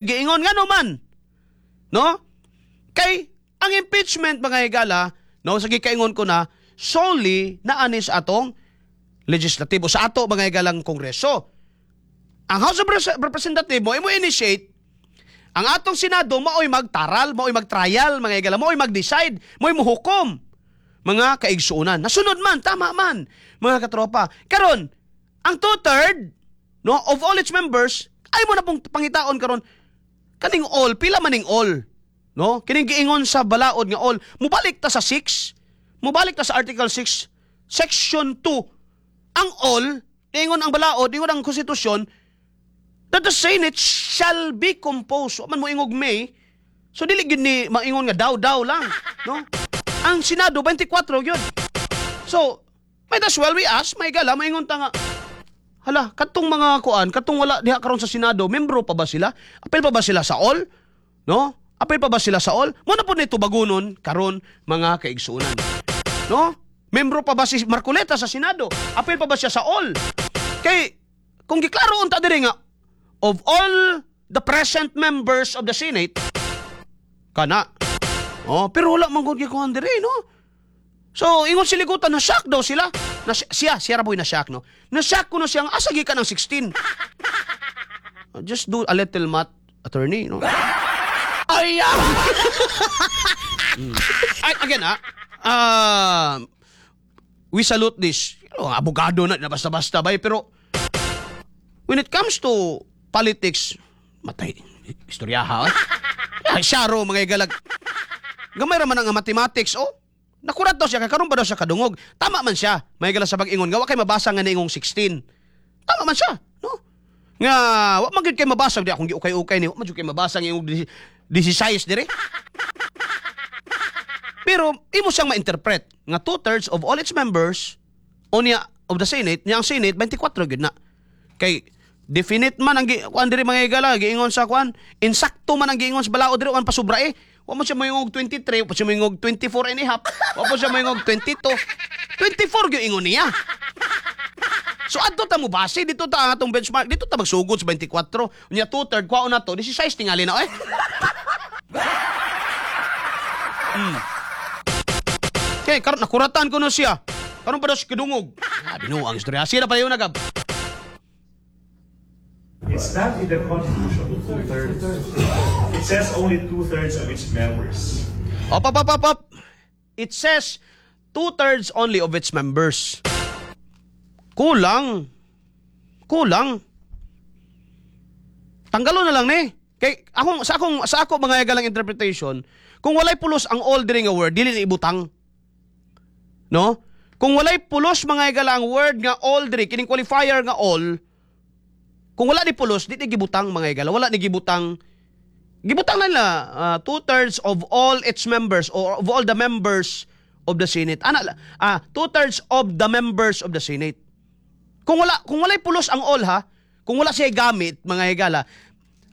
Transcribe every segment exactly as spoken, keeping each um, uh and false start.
Giingon ngano man. No? Kay ang impeachment, mga higala, no, sa gikaingon ko na solely na anis atong legislatibo sa ato, mga higalang Kongreso. Ang House of Repres- Representative mo mo initiate, ang atong Senado maoy magtaral, maoy magtrial, mga higala, maoy mag-decide, maoy muhukom. Mga kaigsuonan. Nasunod man, tama man, mga katropa. Karon, ang two-third, no, of all its members, ay mo na pong pangitaon karon kaning all, pila maning all. No? Kining giingon sa balaod nga all. Mubalik ta sa six, mubalik ta sa Article six, Section two. Ang all, ingon ang balaod, ingon ang konstitusyon, that the Senate shall be composed. Wa man mo ingog may. So dili gyud ni maingon nga daw-daw lang, no? Ang Senado twenty-four gyud. So, might as well we ask, may gala maingon ta nga, hala, katong mga kuan, katong wala diha karon sa Senado, membro pa ba sila? Apil pa ba sila sa all? No? Apil pa ba sila sa all? Mo na po nito bagunon karon, mga kaigsuonan. No? Membro pa ba si Marcoleta sa Senado? Apil pa ba siya sa all? Kay kung giklaro unta diri nga of all the present members of the Senate kana. Oh, pero wala man gud gikuan diri, no? So, ingon si Ligutan, na-shock daw sila. Na, siya, siya ra boy na-shock, no? Na-shock ko na siyang, asa gikan ang sixteen? Uh, Just do a little math, attorney, no? Ay, ah! Mm. Ay, again, ah, uh, we salute this. Oh, abogado na, na basta-basta ba, eh, pero when it comes to politics, matay, istoryaha, eh. Ay, syaro, mga igalag. Gamay ra man ang mathematics, oh. Nakurat daw siya, kay karon pa daw siya kadungog. Tama man siya, may gala sa pag-ingon, nga wa kay mabasa nga niingong sixteen. Tama man siya, no? Nga, wa man gyud kay mabasa, di akong giukay-ukay ni, wa man gyud kay mabasa nga ingong sixteen dire. Pero imo siyang ma-interpret nga two-thirds of all its members unya of the Senate, niya ang Senate twenty-four gyud na. Kay definite man ang gi- kuan diri, mga higala, giingon sa kuan, insakto man ang giingon sa balaod diri, wan pasubra eh. Wa mo siya moingog twenty-three, wa mo siya moingog twenty-four and a half, wa mo siya moingog twenty-two. twenty-four gyud ingon niya. So adto ta mo base dito ta ang atong benchmark, dito ta magsugod sa twenty-four. Unya two-third kwaon na to, sixteen tingali na eh. Hmm. Okay, karon nakuratan ko no siya. Karon pa daw siya kidungog. Ah, binuang istorya. Sila pa yun nagab. It's not in the Constitution, two-thirds. It says only two-thirds of its members. Op, op, op, op, op. It says two-thirds only of its members. Kulang. Kulang. Tanggalon na lang ni. Kay akong sa akong sa ako, mga galang interpretation, kung walay pulos ang all diri nga word, dili na ibutang. No? Kung walay pulos, mga higala, ang word nga all diri, kining qualifier nga all, kung wala ni pulos, di ni gibutang, mga higala. Wala ni gibutang. Gibutang na nila uh, two-thirds of all its members or of all the members of the Senate. Ana, ah, two-thirds of the members of the Senate. Kung wala kung walay pulos ang all ha, kung wala siya gamit, mga higala.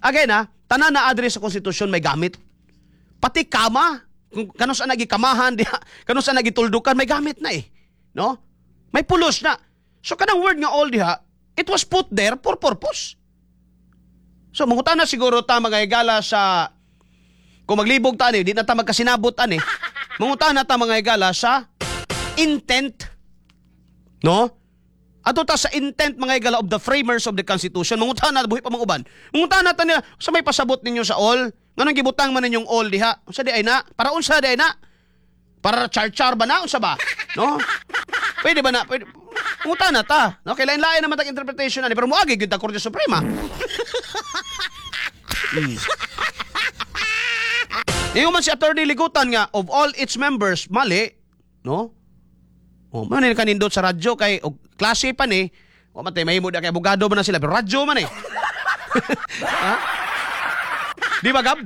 Again ha, tanan na address sa konstitusyon may gamit. Pati kama, kung kanus sa nagikamahan diha, kanus sa nagituldukan, may gamit na eh. No? May pulos na. So kanang word nga all diha, it was put there for purpose. So mangutana siguro ta, mga higala, sa kung maglibog ta ani, di na ta magkasinabot ani. Mangutana ta, mga higala, sa intent. No? Ato ta sa intent, mga higala, of the framers of the Constitution. Mangutana buhi pa mga uban. Mangutana ta nila sa may pasabot ninyo sa all. Nganong gibutang man ninyong all diha? Unsa di ay na? Para unsa di ay na? Para char-char ba na? Unsa ba? No? Pwede ba na? Pwede. Mangutana ta. No? Kay lain-lain naman tag interpretation ani, pero moagi gyud ta Korte Suprema. Mm. Ingon man si Attorney Ligutan nga of all its members, mali, no? Oh, man ni kanindot sa radyo kay og klase pa ni. Wa man tay mahimo kay abogado man na sila pero radyo man eh. Ha? Di ba, Gab?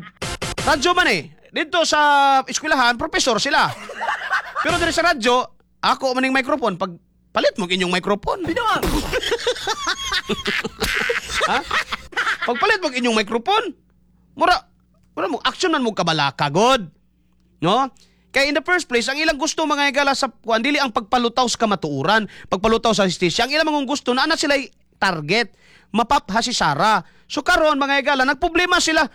Radyo man eh. Dito sa eskwelahan, professor sila. Pero diri sa radyo, ako maning microphone pag palit mo inyong microphone. Binuang. Ha? Pagpalit mo inyong microphone, mura mura mo action man mo kabalaka god. No? Kaya in the first place, ang ilang gusto, mga higala, sa kuan dili ang pagpalutaw sa kamatuoran, pagpalutaw sa justisya. Ang ilang mga gusto na ana sila target, mapapha si Sara. So karon, mga higala, nagproblema sila.